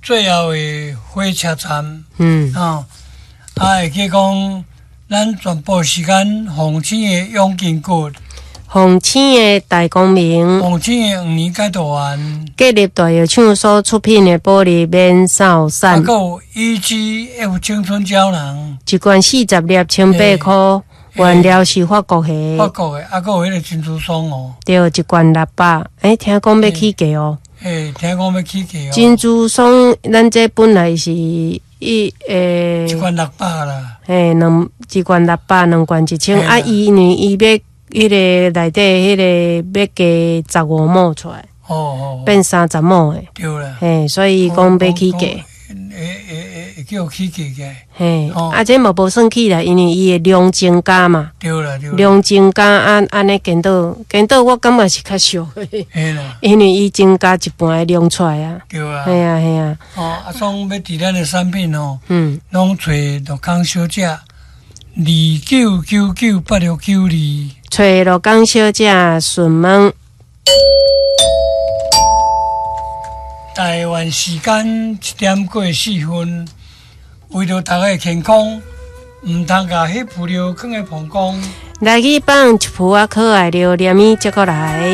最後的火車站，哦，啊，會記講咱全部時間鳳青的養筋骨，鳳青的大光明，鳳青的黃連解毒丸，國立大藥廠所出品的保利免掃啊，散，閣有 EGF 青春膠囊，一罐40粒，1008箍，原料是法國的，法國的，啊，閣有彼个珍珠霜哦，對，一罐600，欸，聽講欲起價哦。欸，聽講欲起價哦。珍珠霜，咱這本來是一一罐600啦。嘿，一罐六百，兩罐1000，啊，伊因為伊欲彼个內底彼个欲加15毫出來，變30毫的，對啦。嘿，所以講欲起價。會叫起價嘅。嘿，啊，這嘛無算起啦，因為伊的量增加嘛。對啦對啦。量增加按按呢顛倒顛倒，我感覺是較俗的。嘿啦。因為伊增加一半的量出來啊。對啊。嘿啊嘿啊。哦，啊，創欲佇咱的產品哦，攏揣樂康小姐29998692。揣樂康小姐詢問。台灣時間1點過4分，為著大家的健康，毋通共彼浮尿囥佇膀胱。來去放一浮仔可愛尿連伊接過來。